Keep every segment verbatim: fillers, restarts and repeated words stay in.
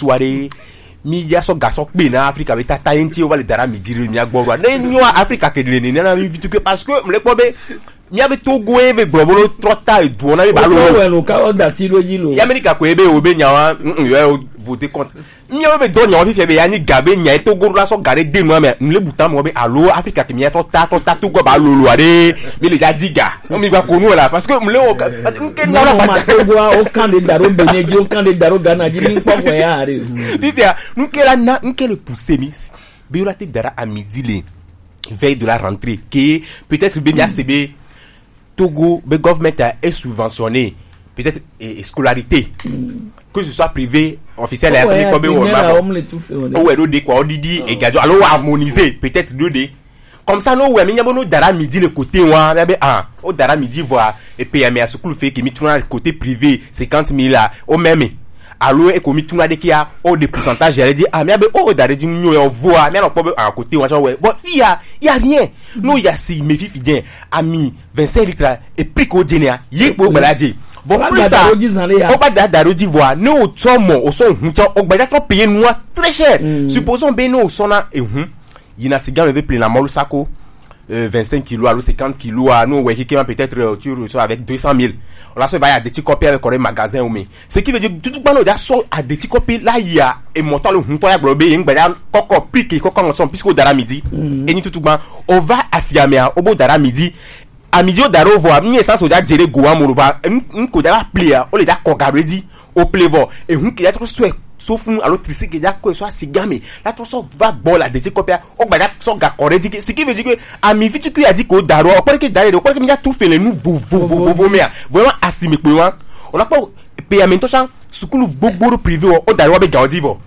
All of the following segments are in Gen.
to aɖe, mi ya sɔ gasɔ kpe na Afrika be tata ye ŋuti wo va le da ɖe ami dzi ɖe mia gbɔ ɖoa? Ne nyo Afrika ke ɖe nene na mi vitu ke, parce que mle kpɔ be mia be Togo ye be gblɔ bolo trɔ ta eduɔ na mi ba lo. Wotɔ wɛ lo ka wɔ da si ɖo dzi lo. Ye Amerika ko ye be wo be nyawa, mm, mm, yo vote contre. Mia be dɔ nyawa fifia be ya ni ga be nya ye Togo la sɔ ga ɖe de nua me, mle buta mo be alo Afrika ke mia trɔ ta, trɔ ta Togo ba lo lo aɖe, mi le ja di ga. Mi gba ko nu la, parce que mle wo ka, nke na la ma ba. Togo o kan de daro Benin dzi, o kan de daro Ghana dzi, mi kpɔ ko ya aɖe. Fifia, nke la na, nke le pousser mi. Be yo la te da ɖe ami dzi le veille de la rentrée, que peut-être be mia se be Togo be government a est subventionné peut-être e, e scolarité, que ce soit privé, officiel, ya kɔmi kɔ be wɔ ma bɔ. O wɛ ɖo de quoi, o didi e gadzo alo o harmoniser peut-être ɖo de. Comme ça no wɛ mi nya be no da ɖe ami dzi le côté wa, mia be ah, o da ɖe ami dzi vɔa, e payer mi a sukulu fe ke mi tuna côté privé cinquante mille la, o meme. Alo e ko mi tuna ɖe kia, o de pourcentage ya le di, ah, mia be o da ɖe dzi nyo ya voa, mia nɔ kpɔ be ah, côté wa tsɔ wɛ. Bon, il y a, il y a rien. No ya si me fifi den, ami vingt-cinq litres, et puis ko dze nea, ye kpo gbala dze. Bon, plus ça, o ba da da ɖo dzi voa, ne o tsɔ mɔ, o sɔ hun tsɔ, o gbadza trɔ payer nua très cher. Supposons be ne o sɔ na ehun, yina siga me be plena mɔlu sako, euh, vingt-cinq kilos alo cinquante kilos a, no wɛ kike ma peut-être, euh, tu ressors avec deux cent mille. O la sɔ va ya de ti kɔpi avec kɔrɛ magasin o me. Ce qui veut dire, tutu gbano ja sɔ adeti kɔpi la ya, e mɔtɔ le hun tɔ ya gblɔ be ye ŋgba ya kɔkɔ pique kɔkɔ ŋɔ sɔn puisque o da ɖe ami dzi. Enyi tutu gban, o va asi ame a, o bo da ɖe ami dzi. Ami dzi o da ɖe o vɔ, mi essence o ja jere go wa mo va, n, n ko ja va pli a, o le ja kɔ ga ɖo edzi, o pli vɔ, ehun ke ja trɔ sɔ e so fun alo trisi ke ja kɔ e so asi game, la trɔ sɔ va gbɔ la adeti kɔpi a, o gba ja sɔ ga kɔ ɖe edzi ke, ce qui veut dire que ami vi tukui a di ko da ɖo, o kpɔ ɖe ke da ɖe, o kpɔ ɖe ke mi ja tu fele nu vovovo me a, vraiment asi me kpe wa, o la kpɔ pe ya me ŋutɔ sã sukulu gbogbo ɖo privé wɔ, o da ɖe wa be gawo dzi vɔ.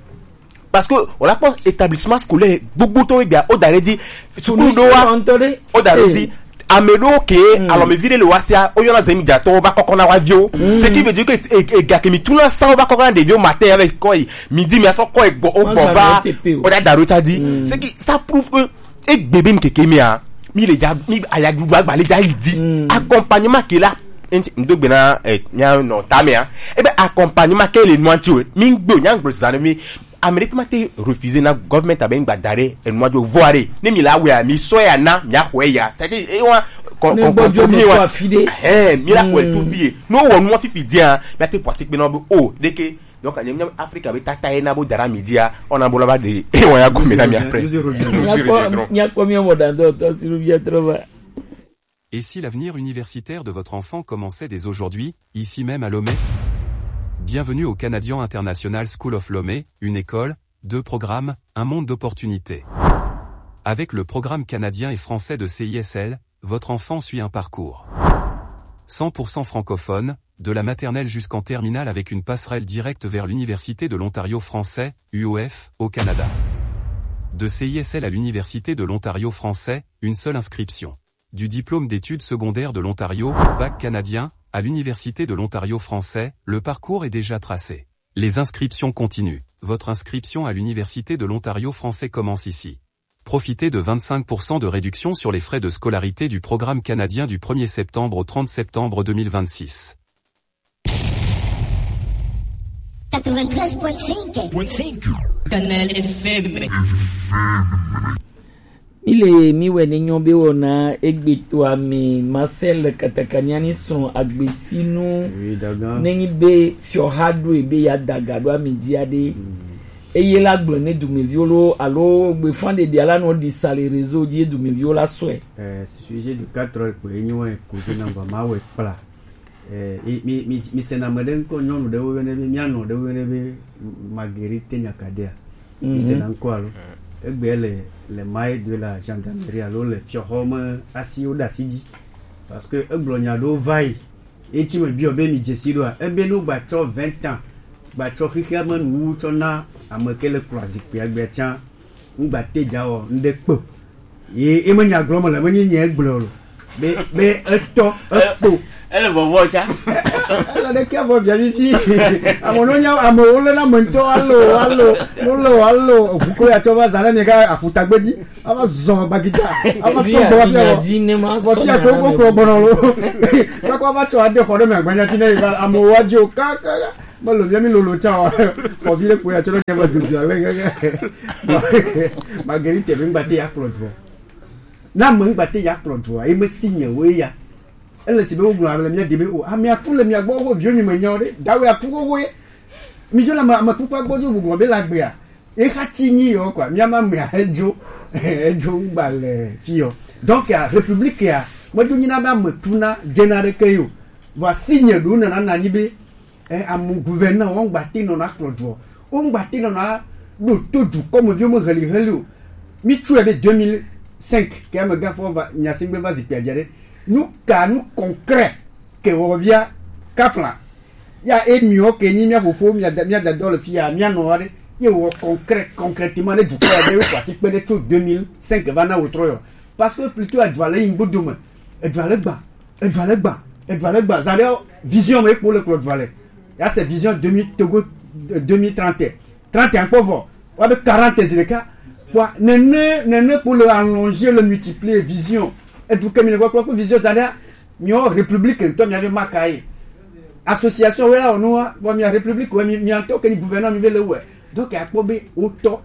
Parce que o la kpɔ établissement scolaire gbogbo tɔ be bia, o da ɖe dzi sukulu ɖo wa, o da ɖe dzi. Ame ɖewo ke alɔmevi ɖe le wa sia, o yɔna zemidzatɔwo va kɔkɔ na wa viwo. Ce qui veut dire que e, e, ega ke mi tuna sa o va kɔkɔ na ɖeviwo matin avec kɔ yi midi mi atrɔ kɔ yi gbɔ, o gbɔ va, o da da ɖo ta dzi. Ce qui, ça prouve que egbe be ŋkeke mea, mi le dza, mi ayaɖuɖu agba le dza yi dzi. Accompagnement ke la, enti ŋdo gbe na, eh, mia nɔ ta mea. Ebe accompagnement ke le nua ŋti o. Mi ŋgbe o, nya ŋgbe zan mi. Amerique ma te refuser na government abe ŋgba da ɖe enua dzo vɔ aɖe. Ne mi la wea, mi sɔ ya na, mi axɔe ya. C'est-à-dire, e wa, kɔ, kɔ, kɔ, mi wa. Eh, mi la xɔe to fie. No wɔ nua fifi dia, mi ate pɔsi kpe na be o, ɖeke. Donc, nye, nye Afrika be tata ye na bo da ɖe ami dzia, ona bo la va ɖe, e wa ya gome na mi après. Nous y reviendrons. Nous y reviendrons. Miakpɔ mia mɔ dan dɔ tɔ si ɖo via trɔ va. Et si l'avenir universitaire de votre enfant commençait dès aujourd'hui, ici même à Lomé ? Bienvenue au Canadian International School of Lomé, une école, deux programmes, un monde d'opportunités. Avec le programme canadien et français de C I S L, votre enfant suit un parcours cent pour cent francophone, de la maternelle jusqu'en terminale avec une passerelle directe vers l'Université de l'Ontario français, U O F, au Canada. De C I S L à l'Université de l'Ontario français, une seule inscription. Du diplôme d'études secondaires de l'Ontario, bac canadien, à l'Université de l'Ontario français, le parcours est déjà tracé. Les inscriptions continuent. Votre inscription à l'Université de l'Ontario français commence ici. Profitez de vingt-cinq pour cent de réduction sur les frais de scolarité du programme canadien du premier septembre au trente septembre deux mille vingt-six. Quatre-vingt-treize point cinq. Canal F M. Mi le mi wɛ ne nyɔ be wɔna egbe to ame Marcel Katakaniani srɔ̃ agbesinu. Oui, dagan. Nenyi be fiɔha ɖo ebe ya daga ɖo ami dia ɖe. Eye la gblɔ ne dumeviwo lo alo gbefa ɖeɖia la nɔ ɖi sa le réseau dzi ye dumeviwo la sɔe. Eh, sujet du quatre heures kpe enyi wɛ koze na ba ma wɛ kpla. Eh, mi, mi, mi sena ame ɖe ŋkɔ, nyɔnu ɖewo yɔnɛ be, mía nɔ ɖewo yɔnɛ be Marguerite Nyakadea. Mi sena ŋkɔ alo? Egbe le, le maille de la gendarmerie alo le fiɔxɔ me asiwo ɖe asi dzi. Parce que egblɔ nya ɖewo va yi. Eti me biɔ be mi dze si ɖoa? Ebe no gba tsɔ vingt ans, gba tsɔ xexea me nuwu tsɔ na ame ke le kplɔ zikpuia gbea tsã. Ŋgba te dza wɔ ŋɖe kpe o. Ye, ye me nya gblɔ me le, menye nye gblɔ o. Be, be etɔ, ekpo. Ele vɔvɔ tsa. Ele ɖe kia vɔ via vivi. Ame no nya, ame wo le na me ŋutɔ, alo, alo, no le o, alo, ʋu ko ya tsɔ va zã ɖe mi ka aƒutagbe dzi. Ava zɔ bagita. Ava tɔ gbɔ fia vɔ. Vɔ fia ko ko kplɔ gbɔnɔ lo. Kaka va tsɔ ade xɔ ɖe me agbanya ti ne yi va ame wo adzi o. Kaka. Melo via mi lolo tsa o. Xɔ vi ɖe kpo ya tsɔ ɖe ke ma dzodzo ale gege. Marguerite be ŋgbate ya kplɔ dua. Na me ŋgbate ya kplɔ dua. Ye me si nye wo ya. Ele si be wo gblɔ ame le mia de be o. Ame aku le mia gbɔ wo viwo mi me nyawo ɖe. Dawe aku wo wo ye. Mi jo le ame ame kuku agbɔ jo gblɔ be la gbea. Ye xa ti nyi yo kwa. Mia ma me edzo. Edzo ŋgba le fi yo. Donc ya république ya. Me jo nyi na be ame tu na jena ɖe ke yo. Voici nye ɖo nana na nyi be Eh, amu gouverneur wo ŋgba te nɔna kplɔ dua o. Wo ŋgba te nɔna ɖo to dukɔmeviwo me heliheli o. Mi tsɔe be deux mille cinq ke amegã fɔ va nyasingbe va zikpia dze ɖe. Nu ka nu concret ke wɔ via kafla. Ya e miwo ke nyi mia fofo mia da mia dadɔ le fia mia nɔ aɖe. Ye wɔ concret concrètement ne dukɔ ya be ko asi kpe ɖe tso deux mille cinq va na wo trɔ yɔ. Parce que plutôt adua le yi ŋgbodo me. Adua le gba. Edua le gba, edua le gba. Zã ɖe vision me kpo le kplɔ dua le. Ya se vision deux mille Togo, euh, deux mille trente. Trente ankpɔ vɔ. Wa be quarante zi ɖeka. Wa nene nene kpo le allonger le multiplier vision. Edu ke mi le kpɔkpɔ ko vision zã ɖe. Miɔ république ŋutɔ mia ve maka ye. Association wɛ la wɔ nua, bon mia république wɛ mi mia ŋutɔ ke ni gouverneur mi ve le wɛ. Donc akpɔ be wotɔ.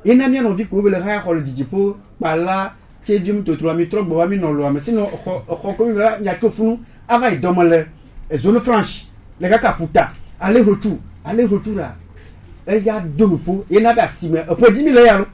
Ena mia nɔvi ko be le haya xɔ le didiƒo kpala tse vium totro ami trɔ gbɔ wa mi nɔ lo ame sinɔ xɔ xɔ ko mi la mia tso funu ava yi dɔme le zone franche le kaka puta ale hotu ale hotu la eya do nuƒo ena be asime eƒe dzi mi le ya lo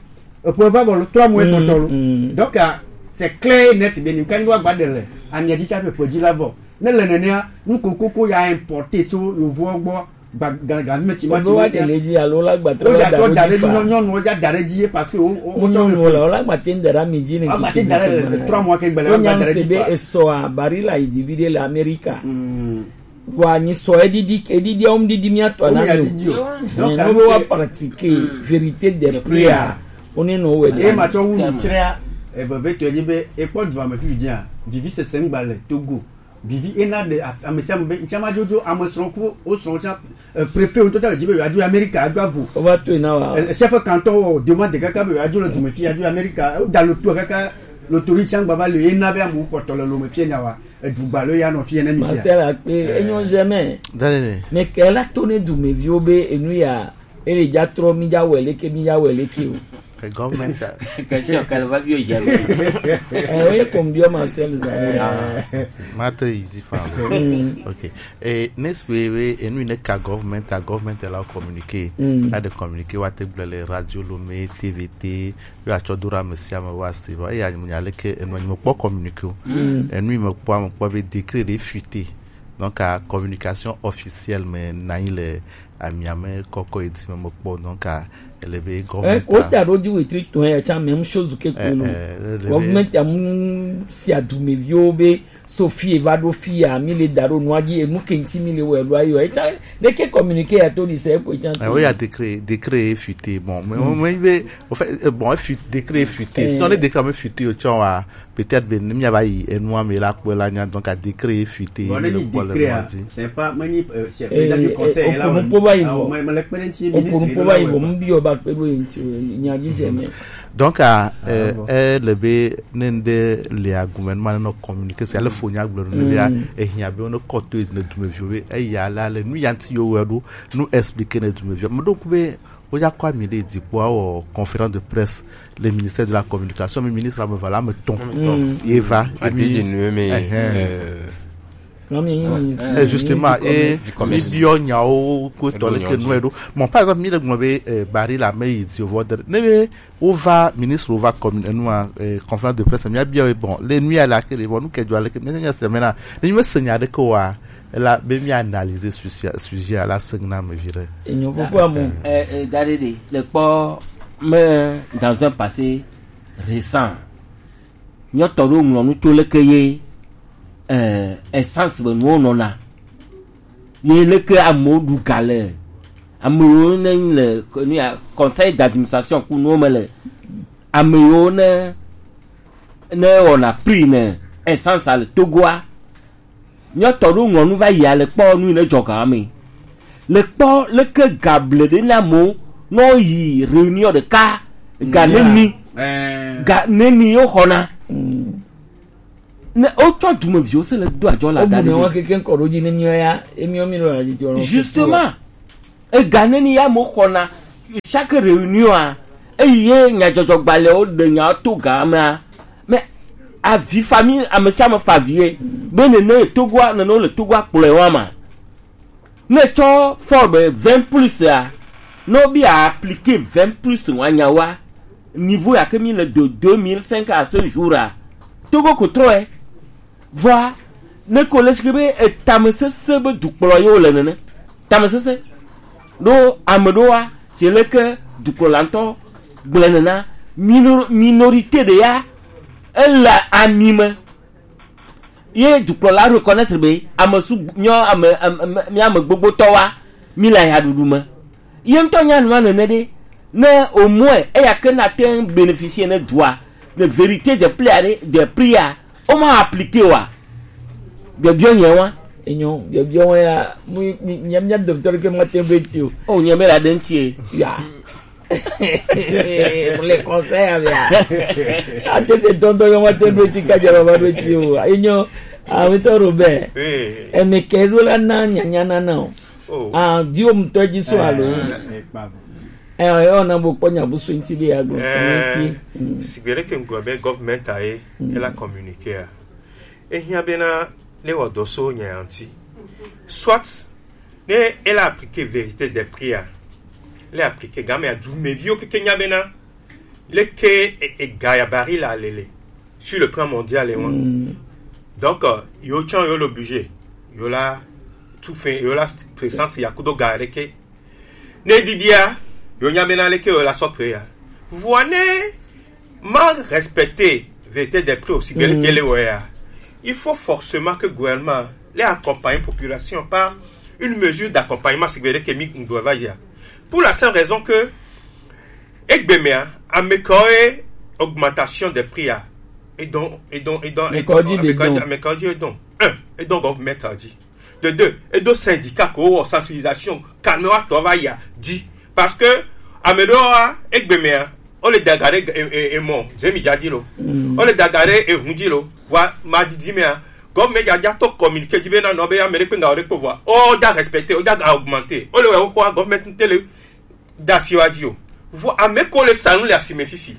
eƒe va bɔ lo trɔ mo etɔtɔ lo donc ah, c'est clair et net be ni ka ni wa gba de le amia dzi tsa ƒe ƒe dzi la vɔ ne le nenea nu kokoko ya importer tso yovoɔ gbɔ Gba- ga- ga- me ti ma ti Oɖo wa ɖe le dzi alo la gbatɔ Wo la da ɖo da ɖe dzi dzi fa. Nyɔ- nyɔnuwo dza da ɖe dzi ye parce que wo- wo- Wo wotsɔ nyɔnu le le o la gbate ŋda ɖe ami dzi ne Wa gbate da ɖe le trois mois ke gbele wa gba da ɖe dzi fa. Esɔa Barilla yi divi ɖe le Amerika. Mm. Vɔa nyi sɔ edidi edidi ɔm didi mia tɔ Wo na mi ya mi o. Didi o. Donc, Ne wo be wa pratique vérité des prix a. Wo ne no we Ye de. Ma tsɔ wu nu tsrɛ a. Eve ve to edzi be ekpɔ dua me fi dzi a. Vivi sese ŋgba le Togo. Vivi ena ɖe af- ame sia ame be ŋtsama dzodzo ame srɔ̃ ku wo srɔ̃ tsã eh, préfet ŋutɔ tsã le dzi be yewoadzo Amerika adzo avo. Wova toe na wa. Eh, chef canton wɔ demande kaka be yewoadzo le dume fi adzo Amerika. Woda loto kaka lotori tsã gbava le ena be amewo kpɔtɔ le lome fie nya wa. Edugba lo ya nɔ fie ne mi sia. Marcel Akpe, enyo jamais. Dale ne. Mais kela to ne dumeviwo be enu ya ele dza trɔ mi dza wɛ leke mi dza wɛ leke o. Ke gɔvmɛnt a. Question kele va biɔ jamais. Eh, oui, comme biɔ Marcel Zahra. Mate easy fa. Ok. Et n'est-ce que we enu ne ka gɔvmɛnt a gɔvmɛnt la communiqué. A de communiqué wa te gblɔ le radio lo me T V T yo atsɔ do ɖe ame sia ame wa si va eya nya leke enu nyi me kpɔ communiqué o. Enu me kpɔ me kpɔ be décret de fuité. Donc à communication officielle me na yi le amiame kɔkɔ yi ti me mekpɔ donc a ele be Eh, gɔvmɛnt ko a- ta ɖo dzi wetri tɔn ya tsa même chose ke ko Eh, no. Eh, ele be- Gɔvmɛnt ya mu si adumeviwo be so fi va ɖo fi ya mi le da ɖo nua dzi enu ke ŋti mi le wɔ elu ayi o etsa ɖeke communiqué ya to di se ko etsa Eh, oui, il y a décret, décret est fuité. Bon, mais on mais be au fait euh, bon, fuit- décret est fuité. Si on est décret mais fuité au tchon wa peut-être ben mi va yi enua me la ko la nya donc à décret est fuité. Bon, le décret. C'est pas mani c'est président du conseil là. Okunu po ba yi vo. Okunu po ba yi vo mbi o ba pe do yin ti nya ji se me. Donc à euh, le be ne nde le gouvernement no communiquer c'est le fo nya gblɔ ne bia e hia be no koto e ne dume viwe e ya la le nu yanti yo we do nu expliquer ne dume viwe. Donc be o ya kwa mi le di po o conférence de presse le ministère de la communication mais ministre me voilà me ton. Ye va. Adi di nu me. Justement e mi biɔ nyawo ko tɔ le ke nu e do. Bon par exemple mi le gblɔ be bari la me yi di vo de ne be wova ministre wova commune enua eh, conférence de presse mia bia bon le nuit à laquelle bon nous que doit le que mais c'est maintenant ne me senya de quoi la be mi analyser sur sujet à la sengna me vire. Enyo fofo amu. Eh eh dare de le kpɔ me dans un passé récent. Nyɔtɔ ɖo ŋlɔ nu tso leke ye eh essence be nuwo nɔna. Ye leke amewo ɖu ga le ame yiwo ne le nu ya conseil d'administration ku nuwo me le ame yiwo ne ne wɔna prix ne essence le Togoa. Nyɔtɔ ɖo ŋlɔ nu va yi ale kpɔ nu yi ne dzɔ ga me le kpɔ leke ga ble ɖe na mo nɔ yi réunion ɖeka ga neni ga neni yo xɔna. Ne wotsɔ dumeviwo se le do adzɔ le ada ɖe. Keke ŋkɔ ɖo dzi ne miɔ ya emiɔ mi nɔ la dzi jɔ. Justement. Ega neni ya mo xɔna chaque réunion a, eyi ye nyadzɔdzɔgbalẽwo ɖe nyawo to ga mea, mais avi famille, ame sia ame fa avi ye be nene ye Togoa, nene wo le Togoa kplɔe wa ma. Ne tsɔ Forbes vingt plus a, ne wo bi a appliquer vingt plus wa nyawoa, niveau ya ke mi le de deux mille cinq à ce jour a, Togo ko trɔ ye. Vɔa, ne ko le sike be etamesese be dukplɔ ye wo le nene. Tamesese. Ɖo ame ɖoa, tse leke dukplɔla ŋutɔ gblẽ nena, minor-, minorité ɖe ya, ele ami me. Ye dukplɔla reconnaître be ame su nyɔ ame, ame, ame, mi ame gbogbotɔ wa, mi le ayaɖuɖu me. Ye ŋutɔ nya nua nene ɖe, ne au moins eya ke na te ŋu bénéficier ne dua, ne vérité de prix aɖe, de prix a, o ma appliquer wa. Biɔbiɔ nyɛ wa. Enyo, biɔbiɔ wa ya, mu, mi, mi, mi, mi, docteur ke ma te be ti o. O nyɛ me la de ŋuti e. Ya. Pour les conseils, ya. Ate se tontɔ yo ma te be ti ka jara ba be ti o. Enyo, a, mi to Robert. Oui. E me ke ro la na nya nya na na o. Oh. Ah, di o mutɔ ji so alo. Eh, eh, eh, ona bo kpɔ nya bu so ŋuti be ya gblɔ so ŋuti. Mm. Sigbe ɖe ke ŋgɔ be government a ye, mm, e la communiquer a. E hiã bena ne wɔ dɔ so nya ya ŋuti. Soit ne e la appliquer vérité des prix a, e la appliquer game ya du meviwo keke nya bena leke e, e ga ya baril a lele sur le plan mondial e wan. Mm. Donc, euh, yo tsã yo le obligé, yo la tout fait, yo la présence ya kudo ga leke. Ne ɖiɖia, yo nya bena leke yo la sɔ prix ya. Vɔa ne ma respecter vérité des prix aussi, mm, leke le wɔ ya. Il faut forcément que gouvernement les accompagne population par une mesure d'accompagnement sigbe leke mi ŋgɔ va ya. Pour la simple raison que Egbemea, ame kawo ye augmentation des prix a, e dɔn, e dɔn, e dɔn, ame kawo dzi, ame kawo dzi, ame kawo dzi e dɔn. Un, e dɔn government a dzi. De deux, e do syndicat ko wɔ sensibilisation, kanɔ atɔ va ya dzi. Parce que ame ɖewo wa, egbemea, o le daga ɖe e, e, e mɔ, zemi dza dzi lo. Mm. O le daga ɖe e hun dzi lo. Vɔa, ma didi mea, government dza dza to communiqué dzi be na nɔ be ame ɖe kpe nga o ɖe kpe vɔa. O dza respecté, o dza augmenté. O le wɛ o xɔa government ŋte le da asi wa dzi o. Vɔ ame ko le sa nu le asime fifi.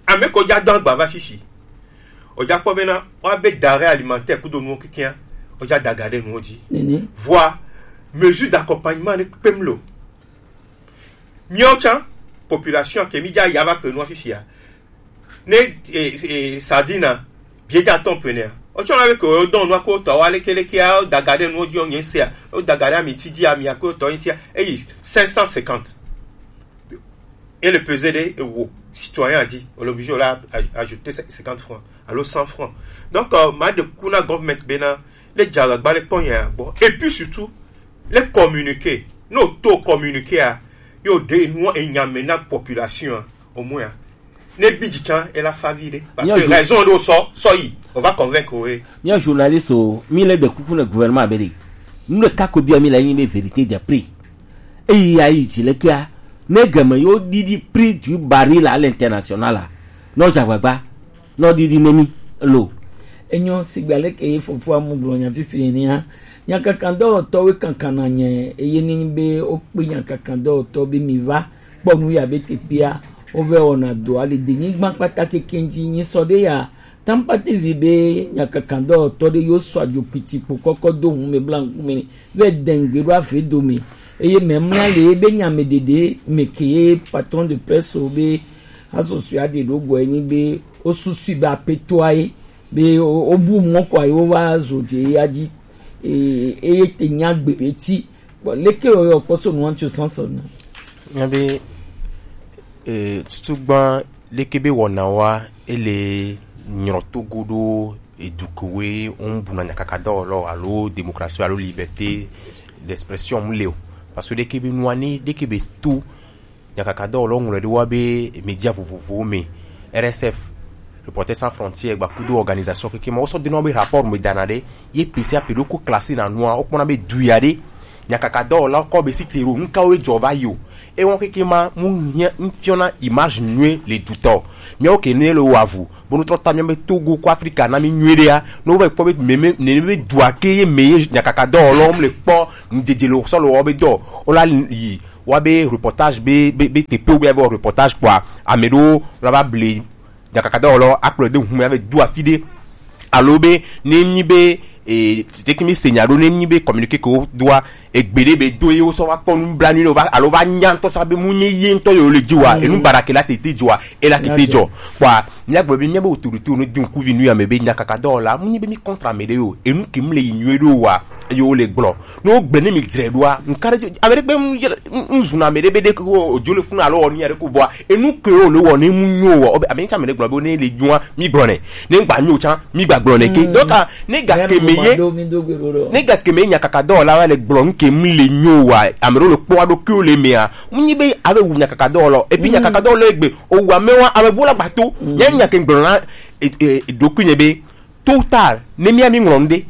Ame ko dza do agba va fifi. O dza kpɔ bena wa be denrée alimentaire kudo nuwo kekeŋa, o dza daga ɖe nuwo dzi. Nene. Vɔa mesure d'accompagnement ne kpem lo. Miawo tsã population ke mi dza ya va ke nua fifia. Ne, eh, eh, sardine a, biedza tɔn plenea. Otsɔ na be ke wodɔn nua ko tɔ wa leke leke a, daga ɖe nuwo dzi o nye sea. O daga ɖe ami ti dzi ami a ko tɔ ntia. Eyi cinq cent cinquante. Et le peser de ewo. Citoyen a dit, on est obligé de la aj-, ajouter cinquante francs. Alo cent francs. Donc, euh, ma de kuna government bena, le djara gba le kpɔ ya gbɔ. Et puis surtout, le communiqué. No to communiqué a, yo de nua e nya me na population a, au moins a. Ne bi dzi tsã, e la fa vi ɖe. Parce que raison ɖo sɔ, sɔ yi. On va convaincre, oui. Mía journaliste o, mi le ɖe kuku ne gouvernement be ɖe. Nu ɖeka ko bia mi le nyi be vérité de prix. Eyi ya yi dzi le kea, ne game yo ɖiɖi prix du baril à l'international a, no dza gbagba, no ɖiɖi ne mi lo. Enyo sigba leke ye fofoa mu gblɔ nya fifi nenia. Nyakakadɔwɔtɔwo kankan na nye, eye ni be wokpe nyakakadɔwɔtɔ be mi va kpɔ nu ya be teƒea wovɛ wɔna dɔa le denyigba kpata kekeŋ dzi. Nyi sɔ ɖe ya, tampati vi be nyakakadɔwɔtɔ ɖe yo sɔ adzo kpiti kpo kɔkɔ do ŋu me bla ŋkume vɛ dengbe ɖo ave dome. Eye mɛmla le be nya me ɖeɖe me ke ye patron de presse be asɔsɔe aɖe ɖo gbɔ enyi be wo susui be apetoa ye be wo, wo bu mɔ kɔ ye wo va zo dze ya dzi. E, eye te nya gbe be ti. Bon, leke wo yɔ kpɔ so nuwa tso sansan na? Nya be, eh, tutu gba leke be wɔna wa ele nyrɔ togo ɖo edukowe on buna nyakaka dɔ lɔ alo démocratie alo liberté d'expression mu le o. Parce que leke be nuwa ni leke be to nyakaka dɔwɔlawo ŋlɔe ɖo wa be média vovovowo me, R S F, Reporters sans frontières, gbakudo organisation keke ma, wosɔ dena be rapport me dana ɖe, ye pe sia pe ɖo ko classé na nua, wokpɔna be du ya ɖe, nyakaka dɔwɔlawo kɔ be si te ɖo, nukawo ye dzɔ va yi o. Ewɔn keke ma mu hiã ŋfiɔna image nyuie le dutɔ. Miawo ke ne le wavu, bonu trɔ ta miabe Togo ko Afrika na mi nyuie ɖea. No va kpɔ be meme ne be dua ke ye me ye nyakaka dɔ lɔ mu le kpɔ ŋdedze le sɔ le wɔ be dɔ. O la yi wa be reportage be be be tepe be be reportage kpɔa, ame ɖewo la va ble nyakakadɔwɔlɔ akplɔe ɖe ŋu me ava do afi ɖe, alo be ne nyi be e tete mi se nya ɖo, ne nyi be communiqué ke wodoa egbe ɖe be do ye wosɔ va kpɔ nublanui ne wova alo va nya ŋutɔ sa be mu nye ye ŋutɔ ye wole dzi wa, enu bara ke la tete dzɔa, e la tete dzɔ. Kpɔa, míagblɔ be míabe autorité ne do ŋkuvi nu ya me be nyakakadɔwɔla mu nyi be mi contre ame ɖe yo, enu ke mu le yi nyuie ɖo wa, eye wole gblɔ. Ne wogbe ne mi dzre ɖoa, nka ɖe ame ɖe gbe ŋ zuna ame ɖe be ɖe ko odzo le funu alo wɔ nu ya ɖe ko vɔa, enu ke wo le wɔ ne mu nyo wɔ, ame ŋutsa ame ɖe gblɔ be ne le nyoa, mi gblɔ nɛ. Ne gba nyo tsa, mi gba gblɔ nɛ ke. Donc, ne ga ke me ye, ne ga ke me nyakaka dɔwɔla wa le gblɔ nu ke mu le nyo wa, ame ɖewo le kpɔ aɖo ke wo le mea, mu nyi be ave wu nyakaka dɔwɔlɔ. Et puis nyakaka dɔwɔlɔ egbe, o wa me wa, ame bo la gba to. Nya nya ke gblɔ na, e, e, ɖokui nye be, tôt ou tard, ne mía mi ŋlɔ nu ɖe,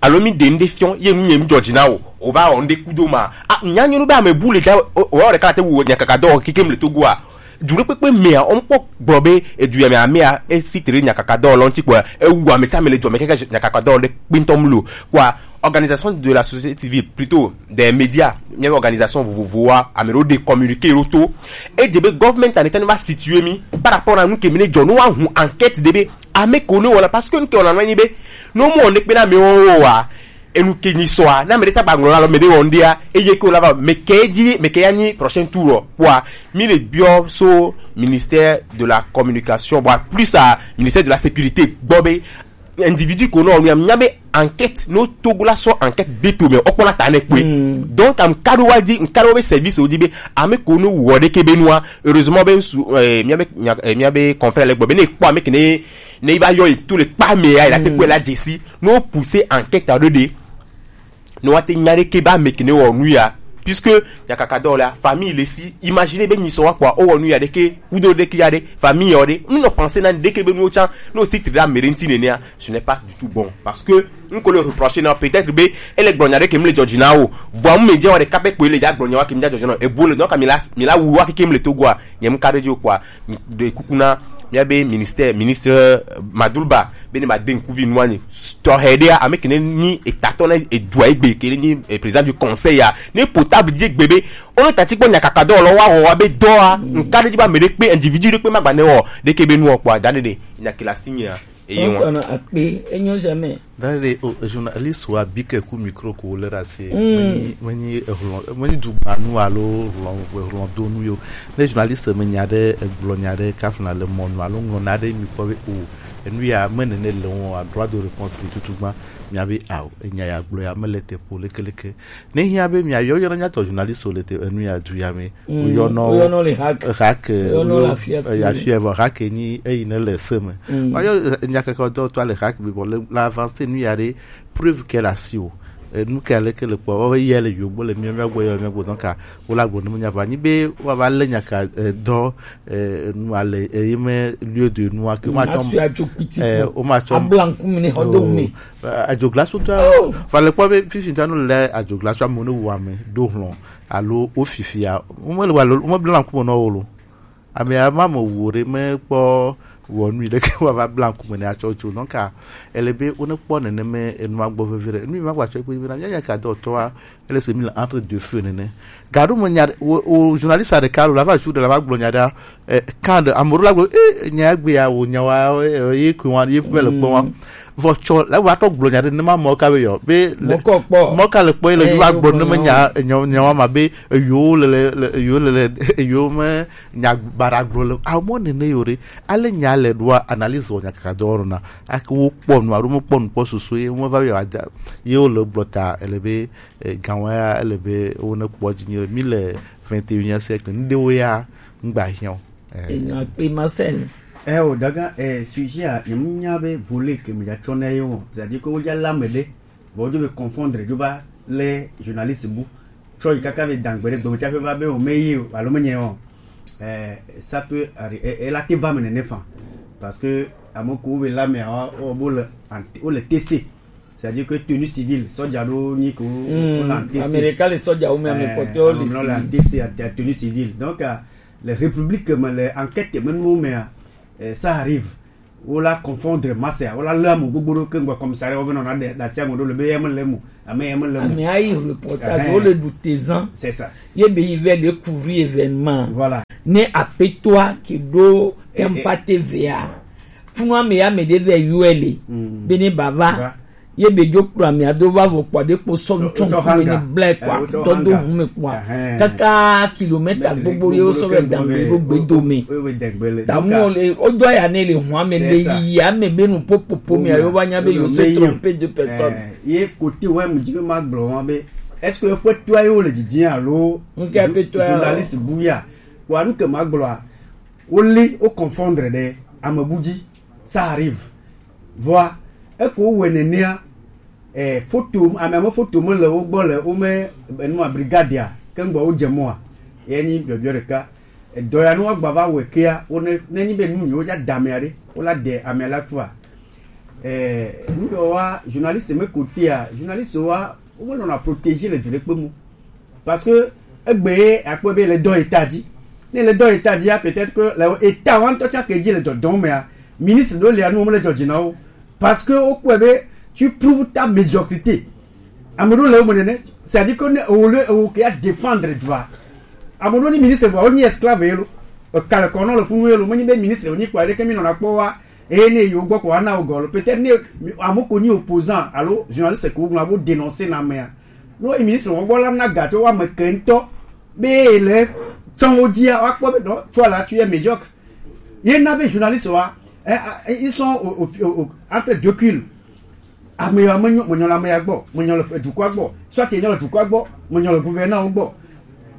alo mi ɖe nu ɖe fiɔ, ye nu nye nu dzɔ dzi na o, o va wɔ nu ɖe kudo ma. A, nya nyɔnu be ame bu le ta, o, o ɖeka te wu nyakaka dɔ keke mle Togoa. Du ɖe kpekpe mea, o kpɔ gblɔ be edu ya me amea, e si tere nyakaka dɔ lɔ ŋuti kpɔ, e wu ame sia ame le dzɔ me keke nyakaka dɔ ɖe kpintɔ mlo. Kpɔa, organisation de la société civile, plutôt des médias, nye organisation vovovoa, ame ɖewo de communiqué ɖo to. E dze be government ane tani va situer mi par rapport na nu ke mi ne dzɔ, no wa hu enquête de be ame ko ne wɔna, parce que nu ke wɔna nɔ anyi be, ne wo mu wɔna kpe na amewo wa, enu ke nyi sɔa, na ame ɖe ta gba ŋlɔ na lɔ, ame ɖe wɔ ŋɖea, eye ke wo la va, me ke dzi, me ke ya nyi prochain tour ɔ, kpɔa, mi le biɔ so ministère de la communication, bon, plus à ministère de la sécurité gbɔ be, individu ko nɔ nu ya, mi nya be enquête, no Togo la sɔ enquête de to me, ɔkpɔ la ta ne kpe. Donc, am kado wa di, nkado be service o di be, ame ko no wɔ ɖe ke be nua, heureusement be ŋsu, eh, mía be, nya, eh, mía be confrère le gbɔ be ne kpɔ ame ke ne ne i va yɔ yi to le kpa me ya, il a te kpɔe la dzesi. No pousser enquête aɖo ɖe. No wa te nya ɖe ke ba me ke ne wɔ nu ya. Puisque nyakaka dɔ la, famille le si. Imagine be nyi sɔ wa kpɔa, o wɔ nu ya ɖe ke, kudo ɖe ke ya ɖe, famille yɔ ɖe. Mi nɔ penser na ɖe ke be nuwo tsa, no si tri ɖe ame ɖe ŋuti nenea, ce n'est pas du tout bon. Parce que n ko le reprocher na peut-être be ele gblɔ nya ɖe ke mi le dzɔdzi na o. Vɔa mu me dze wa ɖeka pe kpoe le dza gblɔ nya wa ke mi dza dzɔdzi na o. Ebu le dɔ ka mi la, mi la wu wa ke ke mi le Togoa. Nye mu ka ɖe dzi o kpɔa, ɖe kuku na mía be ministère, ministre Madulba, be ne ma de ŋkuvi nua ni. Tɔxɛ ɖea, ame ke ne nyi etatɔ na edua egbe, ke ne nyi, eh, président du conseil ya, ne portable dzi egbe be, o ne tati kpɔ nyakaka dɔ lɔ wa wɔ wa be dɔa, nka ɖe dzi ba me ɖe kpe, individu ɖe kpe ma gba ne wɔ, ɖe ke be nuɔ kpɔa, da ɖe ɖe, nyakila si nyea, eye wa. Akpe, enyo jamais. Dade o journaliste wa bi ke ku micro ko le ɖe asi. Menyi, menyi ehlɔ̃, menyi dugbanu alo hlɔ̃, hlɔ̃donu yo. Ne journaliste me nya ɖe, egblɔ nya ɖe, kafuna le mɔ nu alo ŋlɔ na ɖe mi kpɔ be o, enu ya me nene le wɔn a droit de réponse le tutu gba. Mia be ao, enya ya gblɔ ya me le te po lekeleke. Ne hiã be mia yɔ yɔ nya tɔ journaliste le te enu ya du ya me. Woyɔnɔ le hack. Hack, woyɔnɔ le afia fi. Afia vɔ hack ni eyi ne le se me. Woyɔ nyakeke dɔ tɔ le hack bi bɔ le la avance nu ya ɖe preuve ke le asi o. Enu ke ale ke le kpɔ, wo ye le yogbo le mia mia gbɔ, ye le mia gbɔ, donc, a, wo la gbɔ ne menya va nyi be wo va le nyaka, eh, dɔ, eh, nu ale, eh, ye me lieu de nu ake ma tɔ. Asu adzo kpiti. Eh, ko. O ma tɔ. Abla ŋkume ne xɔ do me. Adzoglasu tɔ. Oh. Va le kpɔ be fifi ta no le adzoglasu amewo ne wu ame do hlɔ̃ alo wo fifia. Wo me le wa lo, wo me bla ŋkume nɔ wo lo. Ame ya ma me wu ɖe mekpɔ wɔnui ɖeke wòava bla ŋkume ne atsɔ tso. Donc, a, ele be wone kpɔ neneme enua gbɔ veve ɖe. Enu yi ma gbatsɔ kpe be na mía nya ka dɔ tɔa, ele se mi le entre deux feux nene. Gaɖo me nya ɖe, wo, wo journaliste ɖeka lo, la va su ɖe, la va gblɔ nya ɖe, eh, kan ɖe, ame ɖewo la gblɔ, eh, nya ya gbe ya, wo nya wa, eh, ye koe wa, ye ƒe le kpɔ wa. Vɔ tsɔ, la va tɔ gblɔ nya ɖe, ne ma mɔ ka be yɔ, be le, mɔ ka le kpɔ ye le, eh, va gblɔ ne me nya, nya, nya wa ma be, eyo le, le, le, eyo le, le, eyo me, nya baɖa gblɔ le awo mɔ nene yo ɖe, ale nya le ɖoa analyse wɔ nyakaka dɔ wɔna. Ake wo kpɔ nu alo me kpɔ nu kpɔ soso ye wo va yɔ ada ye wo le gblɔ ta ele be, eh, gan wa ya ele be wo ne kpɔ dzi nye mi le vingt et unième siècle nu ɖewo ya ŋgba hiã o. Eh. Enya kpe Marcel. Eh, o daga, eh, sujet a, ne mu nya be volet ke me ja tsɔ na ye wo. C'est-à-dire que wo ja la me ɖe. Vɔ wodzo be confondre dzo va lé journaliste bu tsɔ yi kaka be dangbe ɖe gbeme tsaƒe va be o me yi o alo menye o. Eh, ça peut arri-, eh, eh, la te va me nene fan. Parce que ame ko wo be la me o, o bo le ante-, wo le tese. C'est-à-dire que tenue civile, soja ɖo nyi ko, hmm, on l'a encaissé. Américain, les soja ou même, eh, les porteurs, on l'a encaissé à, à tenue civile. Donc, euh, les républiques, mais les enquêtes, même nous, mais, euh, ça arrive. Wo la confondre masse ya, wo la lé ame gbogbo ɖo ke ŋgbe commissariat wo va nɔna ɖe ɖe asi ame ɖo le be ye me le mo, ame ye me le mo. Ame ayi reportage, eh, wo le ɖu tezan. C'est ça. Ye be yi vɛ le couvrir événement. Voilà. Ne apetoa ke ɖo, eh, eh, tempa T V A. Funu ame ya me ɖe vɛ yɔe le. Mm. Be ne bava. Va. Ye be dzo kplɔ amea do va vɔ kpɔ ɖe kpo sɔ ŋtsɔ ŋkume ne blɛ kpɔ, eh, dɔ do ŋu me kpɔ, kaka kilomètre gbogbo ye wo sɔ vɛ dangbe ɖo gbe dome. Tamu le, o dɔ ya ne le hɔn ame le yiyi ame be nu popopo mea yo va nya be yo se tromper deux personnes. Ye côté ouais, mu dzi be ma gblɔ wa be, est-ce que eƒe toa ye wo le didi alo? Ŋke eƒe toa ya? Journaliste bu ya. Wa nu ke ma gblɔa, wo li, wo confondre ɖe ame bu dzi. Ça arrive. Vɔa, eko wowɔe nenea, eh, foto, ame, ame foto me le wo gbɔ le, wo me, enua, brigadea, ke ŋgbɔ wo dze mɔa, ye nyi biɔbiɔ ɖeka. Edɔ ya ne woagba va wɔe kea, wo ne, ne nyi be nu nyi wo dza da amea ɖe, wo la de amea la tua. Eh, nu yɔ wa, journaliste me kotea, journaliste wa, wo me nɔna protéger le du ɖekpe mu. Parce que egbe ye akpɔe be le dɔ eta dzi. Ne le dɔ eta dzia, peut-être que le eta wa ŋutɔ tsã ke dzi le dɔdɔm mea, ministre ɖewo le anu wɔm le dzɔdzi na wo. Parce que wokpɔe be tu prouves ta médiocrité. Ame ɖewo le wo me nene, c'est-à-dire que ne ewo le ewo ke ya défendre dua. Ame ɖewo ni ministre vɔa, wonyi esclave ye lo. Eka le kɔnɔ le funu ye lo, menyi be ministre wonyi kpɔ aɖeke mi nɔna kpɔ wa. Eye ne yi wo gbɔ ko ana wo gɔ lo. Peut-être ne ame ko nyi opposant alo journaliste ko ŋlɔ abo dénoncer na amea. No ministre wo gbɔ la na ga tso wa me ke ŋutɔ be le tsɔn wo dzia wa kpɔ be no toi là tu es médiocre. Ye na be journaliste wa, eh, eh, ils sont au, au, au, au, entre deux culs. Ame ya menyo, menyo le ame ya gbɔ, menyo le dukɔa gbɔ, soit enyo le dukɔa gbɔ, menyo le gouverneur gbɔ.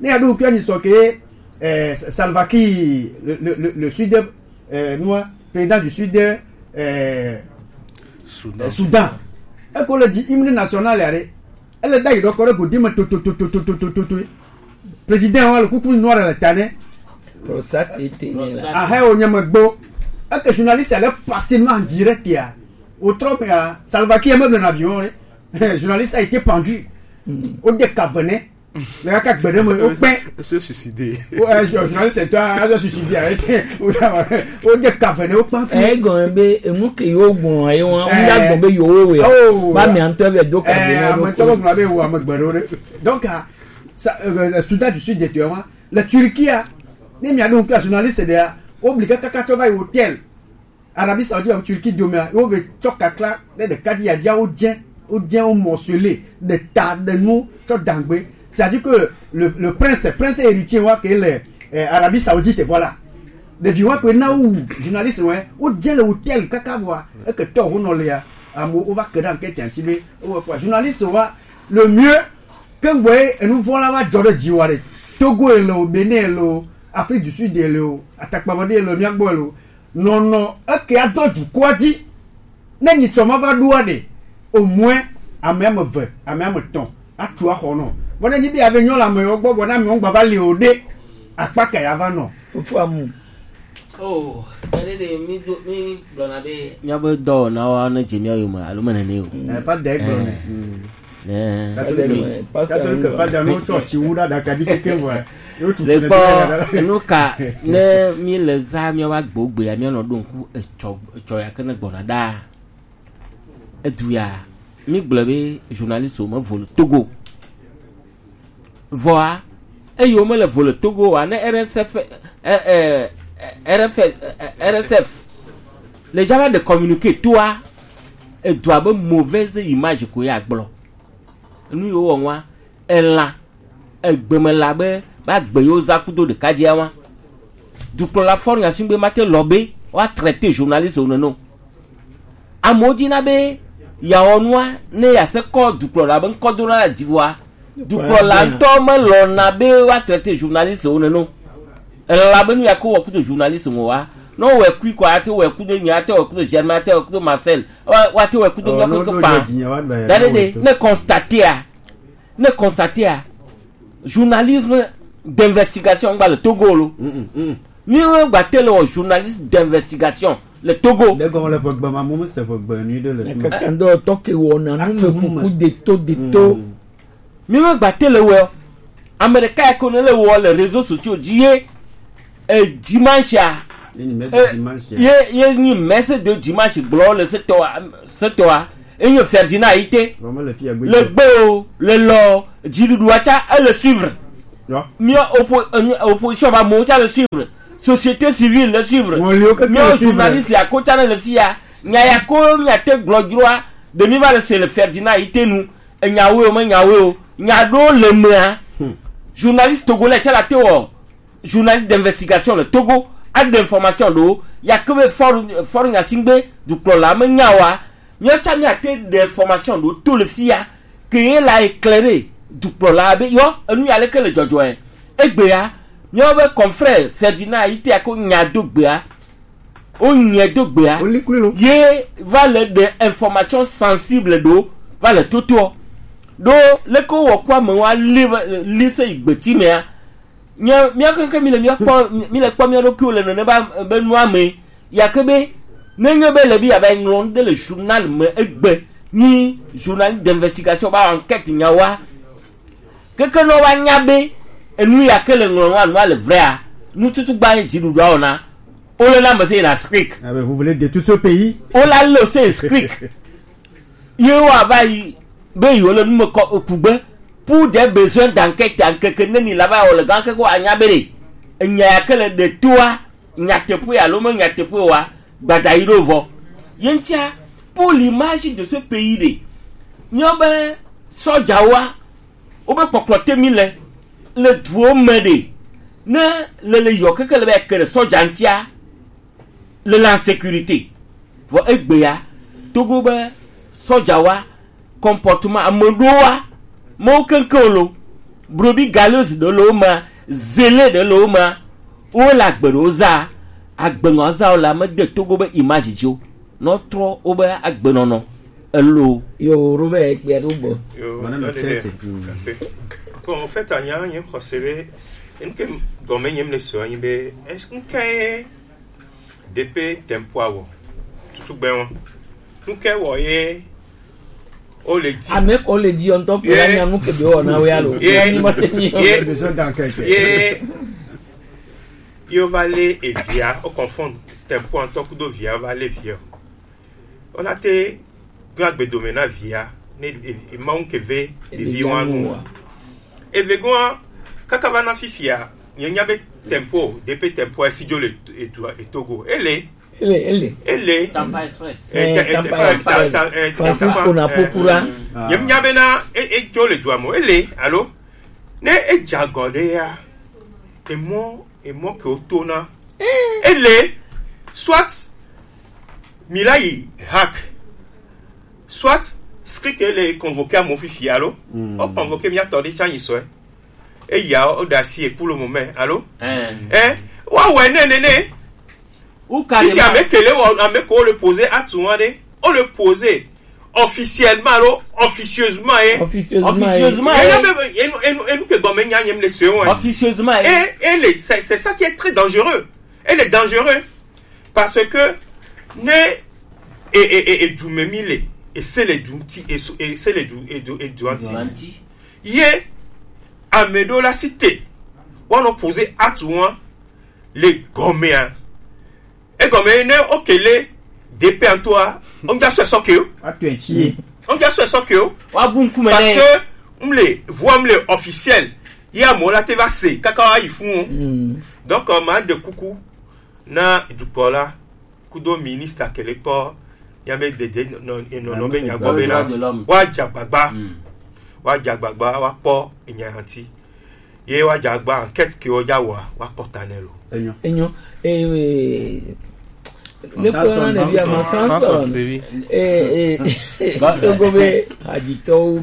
Ne ya ɖo ŋkua nyi sɔ ke, eh, Salva Kiir, le, le, le, le sud, eh, nua, président du sud, eh, Soudan. Eh, Soudan. Eko le dzi hymne national ya ɖe. Ele da yi ɖɔkɔ ɖe godi me to to to to to to to to. Président wa le kuku noir le ta ne. Prostate était né là. Ah, hey, o nyama gbo. Eke journaliste allait passer en direct ya. Au trop ya, Salva Kiir même dans l'avion, hein. Journaliste a été pendu. Au décavené. Le gars qui a besoin de me, au pain. Se suicider. Oh, euh, journaliste, c'est toi, ah, je suis suicidé, arrêtez. Au décavené, au pain. Eh, gɔn be enu ke yo gbɔn ayi wa, ŋda gbɔn be yo wo we. Oh. Ba mi antɔ be do ka be na do. Ame tɔ gbɔn be wo ame gbɛ do. Donc, ah, ça, euh, Soudan du Sud de toi, la Turquie, ah, ne mi anu ke journaliste de, ah, obligé kaka to va hôtel. Arabie Saoudite, Turquie, dome, ah, wo ve tsɔ kakla, ne de kadi ya dia o dien, o dien o morcelé, de ta, de nu, tsɔ dangbe. C'est-à-dire que le, le prince, prince héritier, wa ke le, euh, Arabie Saoudite, voilà. Ɖevi wa kpe na wu journaliste wɛ, wo dze le hôtel kaka vɔa, eke tɔ ho nɔ lea, amewo wova ke ɖe ankete ŋuti be wowɔe kpɔa. Journaliste wa, le mieux, ke ŋgbɔe enu vɔ̃ la va dzɔ ɖe dziwò ɖe, Togo ele o, Benin ele o, Afrique du Sud ele o, atakpame ɖe ele o, mía gbɔ ele o, nɔnɔ eke adɔ dukɔa dzi. Ne nyitsɔ ma va ɖoa ɖe, au moins ame ame eve, ame ame etɔ̃ atu axɔ nɔ. Vɔ ne nyi be yeava nyɔ le amewo gbɔ, vɔ ne amewo gba va li o ɖe, akpa ka yeava nɔ? Fofo amu. Oh, tadi de mi do, mi gblɔna be míaƒe dɔwɔnawo ne dze mía yome alo mene nɛ o. Eh, va de gblɔ nɛ. Eh. Catholique, Pastor, Catholique, Pastor, no tsɔ tsi wu ɖe aɖaka dzi kekeŋ vɔa. Yo tu le tsi ɖe kpɔ ɖe ɖe. Nu ka ne mi le zã míawo agbewo gbea, míanɔ ɖo ŋku etsɔ, etsɔ ya ke ne gbɔna ɖaa. Edu ya, mi gblɔ be journaliste wo me vo le Togo. Vɔa, eye wo me le vo le Togo wa, ne R S F, eh, eh, eh, R F, eh, R S F, le java de communiqué toa, edua be mauvaise image ko ya gblɔ. Nu yiwo wɔ ŋua, elã, egbemela be, be agbe yewo zã kudo ɖeka dzia wa. Dukplɔla fɔ nya si be mate lɔ be woa traiter journaliste wo nene o. Amewo dina be yeawɔ nua ne yease kɔ dukplɔla be ŋkɔ do na le dzi vɔa, dukplɔla ŋutɔ melɔna be woa traiter journaliste wo nene o. Elɔ̃na be nu ya ke wowɔ kudo journaliste ŋu wa, ne wowɔe kui kɔ, ate wɔe kudo nye, ate wɔe kudo Germain, ate wɔe kudo Marcel, wa-, woate wɔe kudo míawo kekeŋ faa. Da ɖe ɖe, ne constater a, ne constater a, journalisme d'investigation gba le Togo lo. Mm, mm, mm. Míawo gba te le wɔ journaliste d'investigation. Le Togo. Ɖe gɔme le ƒegbe ma, mo me se ƒegbe nyui ɖe le fi ma. Kaka ŋdɔ tɔ ke wɔna nu me kuku de to, de to. Mm. Mi me gba te le wɔ. Ame ɖeka ya ko ne le wɔ le réseaux sociaux dzi ye, eh, dimanche a. Ye nyi message eh, dimanche a. Ye, ye nyi message de dimanche gblɔ le setɔa, setɔa. Enye Ferdinand Ayité. Vɔ mele fi ya gbe. Le gbe o, le lɔ, dziɖuɖua tsa, ele suivre. Yɔ. Mía oppo-, eh, opposition ba mo tsa le suivre. Société civile le suivre. Ŋɔliwo keke le suivre. Mía journaliste ya ko tsa le fi ya. Nya ya ko mía te gblɔ dzroa. De mi va le se le Ferdinand Ayité nu. Enya wo, me nya wo. Nya ɖo le mea. Hmm. Journaliste togolais tsa la te wɔ. Journaliste d'investigation le Togo, a de information ɖo, ya ke be fort, fort nyasingbe, dukplɔla me nya wa, mía tsa mía te de information ɖo to le fi ya, ke ye la éclairer dukplɔla be, yɔ, enu ya leke le dzɔdzɔe. Egbea, mía be confrère Ferdinand Ayité ko nya do gbea, o nya do gbea, o li kuli lo. Ye va le de information sensible ɖo, va le toto. Ɖo, leke wɔ kɔ ame wa li, li se yi gbeti mea, Nye, mía keŋkeŋ mi le mía kpɔ, mi le kpɔ mía ɖokuiwo le nene ba, be nua me. Ya ke be, nenye be le bi ya va ŋlɔ nu ɖe le journal me egbe, ni journal d'investigation ba enquête nya wa. Keke nɔ wa nya be, enu ya ke le ŋlɔ nua, nua le vrai a, nu tutu gba ye dziɖuɖua wɔna. O le na me se na skrik. Ah ben, vous voulez détruire ce pays? O la le se skrik. Ye wa va yi be yewo le nu me kɔ kugbe. Pour des besoins d'enquête, ŋkeke neni la va wɔ le gã keke wa nya be ɖe enya ya ke le ɖe toa, nyateƒe alo me nyateƒe wa, gbadza yi ɖo vɔ. Ye ŋutia, pour l'image de ce pays ɖe, míawo be sɔdzawoa, wobe kpɔkplɔ te mi le, le duwo me ɖe, ne le le yɔ keke le be ke ɖe sɔdza ŋutia, le la sécurité. Vɔ egbea, Togo be sɔdzawa, comportement, ameɖowa, mewo keŋkeŋ lo, brebis galeuse ɖe le wo me, zélé ɖe le wo me, wo le agbe ɖewo za, agbe ŋɔ za wo le ame de Togo be image dzi o, nɔ trɔ wobe agbenɔnɔ elo. Yo, Robert, kpea ɖo gbɔ. Yo, Madame tɔde Chelsea. Bon, en fait, anya nye xɔse be, enu ke gɔme nyem le sɔ anyi be, est-ce que DP tempo awɔ tutugbɛ wɔn. Nuke wɔ ye o le di. Ame ko le di ɔntɔ ko la nya nuke be wɔ na we alo. Ye. Ni ma te nyi. Ye. Besoin d'enquête. Ye. Yo va le evia, o confond tempo ɔntɔ kudo via, va le via. Ona te gbe agbedome na via, ne e, e, Mawu ke ve ɖevi wa nu. Eve goa, kaka va na fifia, nye nya be tempo, DP tempo, esi dzo le e, e, Togo. Ele. Ele, ele. Ele. Tampa Express. Eh, eh, Tampa Express. Francisco Napokura. Nye nya be na, e, e dzo le dua mo. Ele, alo? Ne e dza gɔ ɖe ya, emɔ, emɔ ke o to na. Ele, soit mi la yi hack, soit skrik ele convoqué amo fifi alo. Mm. O convoqué mi atɔ de tsa nyi sɔɛ. Eya o da si e pour le moment, alo? Eh. Eh, wa wɛ ne ne ne. Ou carrément. Ici, avec que le, avec qu'on le posait à tout le monde, on le posait officiellement, alors, officieusement, hein. Officieusement, hein. Officieusement, hein. Et là, même, et nous, et nous, et nous, que bon, mais il y a, il y a les seins, hein. Officieusement, hein. Et, et les, c'est, c'est ça qui est très dangereux. Et les dangereux, parce que, ne, et, et, et, et du même, il est, et c'est les du, et, et c'est les du, et du, et du anti. Du anti. Ye, ameɖewo la si te, woanɔ poze atu ŋua le gɔmea. Egɔme ne okele D P antoa, on ja sɔ sɔ ke o. Atu etsi. On ja sɔ sɔ ke o. Wa bu ŋkume nɛ. Parce que mle, voix mle officielle. Ye amewo la te va se, kaka wa yi fun o. Mm. Donc, euh, ma de kuku na dukplɔla kudo ministre kele kpɔ, ya be dede nɔ, nɔ, nɔ be nya gbɔ be na, wa dza agbagba. Mm. Wa dza agbagba, wa kpɔ enya ŋuti. Ye wa dza agba enquête ke wo dza wɔa, wa kpɔ ta nɛ lo. Enyo. Enyo. Eh, ne ko na ne bia ma Samson. Eh, eh. Togo be haditɔwo.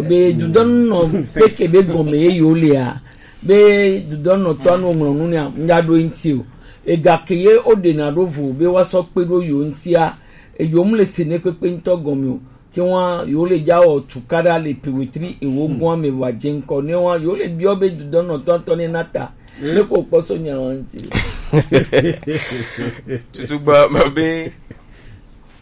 Be dudɔn nɔ peke be gɔme ye yo lea. Be dudɔnɔtɔa no ŋlɔ nu nɛ, ŋga ɖo eŋti o. Ega ke ye o ɖe na ɖo vo be wa sɔ kpe ɖo yo ŋtia. Eyo mu le se ne kpekpe ŋtɔ gɔme o. Ke wa yo le ja wɔ tukaɖa le pewetri ewo gbɔn ame wa dze ŋkɔ ne wa yo le biɔ be dudɔnɔtɔa tɔ ne na ta. Ne ko kpɔ so nya wa ŋti. Tutu gba ma be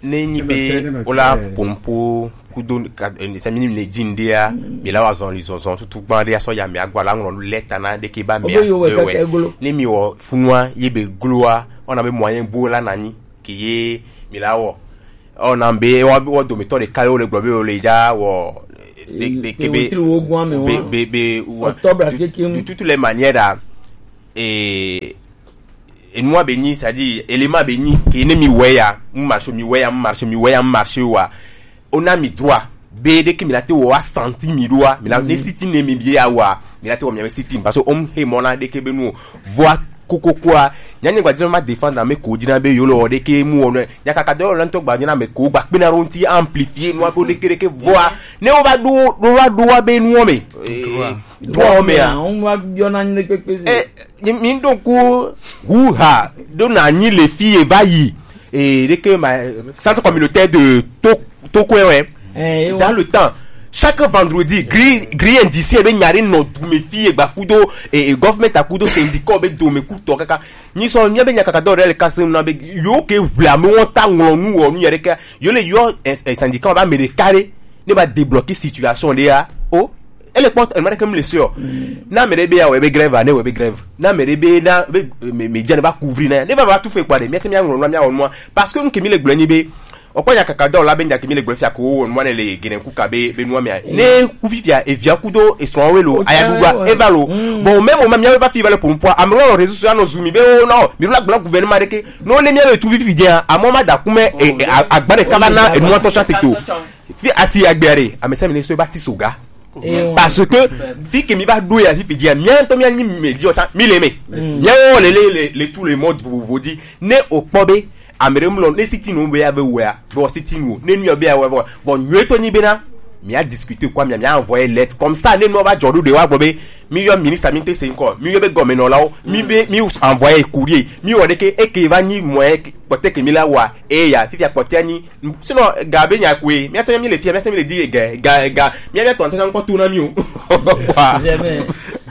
ne nyi be wola pompo kudo ka eh, sami ni le din dia mi la wa zɔn li zɔnzɔn tutu gba de aso ya mi agwa la ŋlɔ lɛta na de ke ba mi. Obe yo we kaka egolo. Ne mi wɔ funua ye be gloa ona be moyen bo la nani ke ye mi la wɔ ona be wɔ wɔ domitɔ de ka yo le gblɔ be wo le ja wɔ de de ke be wotri wo gwa me be wa be be wa. Octobre keke mu. De toutes les manières là, et enua be nyi, c'est-à-dire élément be nyi ke ne mi wɛ ya mu marché mi wɛ ya mu marché mi wɛ ya mu marché wa ona mi droit be de ke mi la te wɔ wa senti mi do wa mi la ne siti ne mi bi ya wa mi la te wɔ mi ya siti parce que on he mona de ke be nu voix koko kwa nya ne gba dina ma défendre na me ko dina be yo lo de ke mu wɔ ne nya kaka do lo nto gba dina me ko gba pe na ro nti amplifier nu ko de ke de ke voix ne o ba do do wa do wa be nu o me. Droit o me a. On va bien en kpekpe si. Eh, mi mi donc hu ha do na ni le fi e va yi. Et de que ma centre communautaire de to to kwe ouais. Eh, dans le temps chaque vendredi grille grille indiciaire be nyari no du me fi e gba kudo et government a kudo syndicat be do me kuto kaka ni so mi be nyaka do le kasim na be yo ke vla me won ta nglo nu wo nu yere ka yo le yo syndicat ba me de carré ne ba débloquer situation de ya. Oh, elle est porte elle m'a comme le sûr. Na me de be ya we be grève ne we be grève na me de be na be me me jane ba couvrir na ne ba ba tout fait quoi de mi te mi nglo na mi won parce que nous ke mi le gbleni be. Okpɔ nya kaka dɔ la be nya ke mi le gblɔ fia ko wo nua ne le gene ku ka be be nua mea ne ku fifia evia ku do esrɔ̃ we lo aya ɖuɖua eva lo. Vɔ o mɛmu ma miawo va fi va le ƒoƒoa ame lɔ réseau sociaux anɔ zu mi be wo nɔ mi la gblɔ gouvernement ɖeke no le miawo etu fifi dia amɔ ma da ku mɛ agba ɖeka va na enua tɔ sa tete o. Fi asi agbea ɖe ame sɛ ministre ba ti soga. Parce que fi ke mi va ɖo ya fifi dia mia ŋutɔ mia nyi me di ɔta mi le me. Miawo le le le le tout le monde vovovo di ne o kpɔ be ame ɖe mlɔ ne sitting wo be ya be wɔa be wɔ sitting wo ne nuyɔ be ya wɔ vɔ vɔ nyuie tɔ nyi be na mia discuter quoi mia mia envoyer lettre comme ça ne nɔ va dzɔ ɖo ɖe wa gbɔ be mi yɔ ministre mi te se ŋkɔ mi yɔ be gɔmɛnɔlawo mi be mi envoyer courrier mi wɔ ɖeke eke va nyi mɔɛ kpɔtɛ ke mi la wa eya fifia kpɔtɛ nyi sinon ga be nya koe mia tɔ mi le fia mia tɔ mi le di ga ga ga mia mia tɔ ntɛ ŋkɔ to na mi o.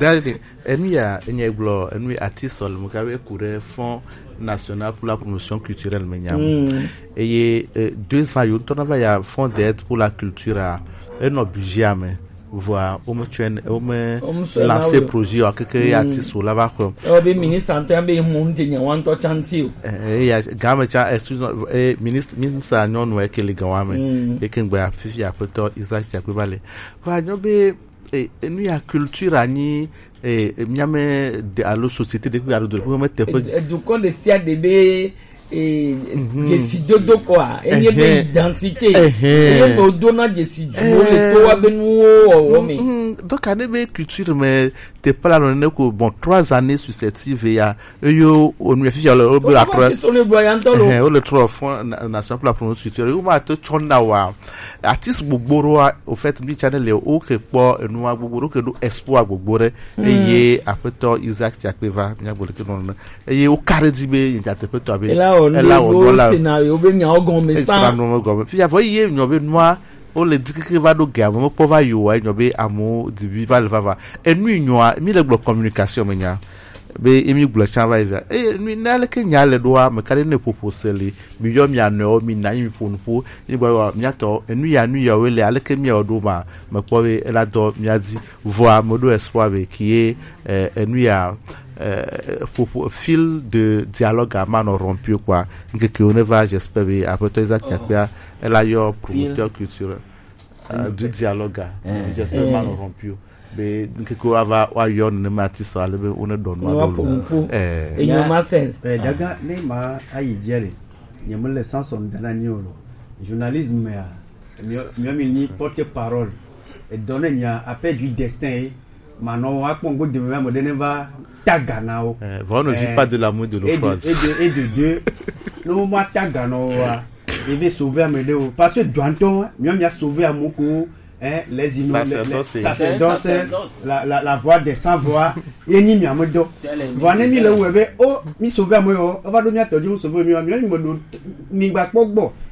Jamais. Enu ya enye gblɔ enu ati sɔlem ka be ku ɖe Fonds National pour la Promotion Culturelle me nya mu. Eye deux ans yo ŋutɔ na va ya Fonds d'aide pour la culture a enɔ budget me vɔa wo me tsɔe wo me lancer projet wa keke ya ti so la va xɔ. Ɔ be ministre ŋutɔ ya be mu ŋutɔ nya wa ŋutɔ chantier o. Eya game tsa excuse me ministre ministre nyɔnu eke le gan wa me eke ŋgbe fifi aƒetɔ Isaac Tsakpe va le va nyɔ be enu ya culture anyi miame de alo société ɖe kpe alo do ɖe kpe me teƒe. Edukɔ ɖe sia ɖe be dzesi dodo kɔa enye be identité enye be wodona dzesi duwo le towa be nuwo wɔwɔ me. Donc ane be culture me teƒe la nɔ ne ko bon trois années successives ya eyo onu ya fifia le wobe la trɔ. Ti so le bua ya ŋutɔ lo. Wo le trɔ fɔ national plan pour notre culture wo ma to tsɔ na wa. Artiste gbogbo ɖoa au fait mi channel le wo ke kpɔ enua gbogbo ɖo ke ɖo espoir gbogbo ɖe eye aƒetɔ Isaac Tsakpe va mia gbɔ ɖeke nɔ nene eye wo ka ɖe dzi be nyateƒetɔ abe ela wɔ nɔ la o scenario be miawo gɔme sa scenario gɔme fia vɔ ye nyɔ be nua wo le dikeke va ɖo ge ame mekpɔ va yi o wa nyɔ be amewo dibi va le vava enu nyɔa mi le gblɔ communication me nya be emi gblɔ tsã va yi via eye nu ne aleke nya le ɖoa meka ɖe ne ƒoƒo se li mi yɔ mia nɔewo mi na mi ƒo nuƒo mi gba wa mia tɔ enu ya nu ya wo le aleke mia wo ɖo ma mekpɔ be ela dɔ mia di vɔa me ɖo espoir be ki ye enu ya ƒoƒo fil de dialogue a ma nɔ rompu quoi ŋkeke wo ne va j'espère be aƒetɔ Isaac Tsakpea ela yɔ promoteur culturel du dialogue a j'espère ma nɔ rompu be ŋkeke woava woayɔ nenema artiste ale be wone ɖɔ nua ɖo lo. Enyo Marcel. Eh, gaga ne ma ayi dzia le nyemele sanson dana nyi o lo journalisme ya miɔ mi nyi porte parole edɔ ne nya appel du destin ye manɔ akpɔ ŋgo deme ame ɖe ne va taga na wo. Vɔ ne vit pas de l'amour de l'eau froide et de deux ne wo ma taga na wo wa eve sauver ame ɖe wo parce que dɔantɔ miɔ mia sauver amewo ko hein, les inno- les- les- Sacerdoce. Sacerdoce, la, la, la voix des sans voix, ye nyi mia me dɔ. Vɔ ne mi le wɛ be o mi sauver ame yɔ eva ɖo mia tɔ dzi mu sauver mi wa mi mi me ɖo mi gba kpɔ gbɔ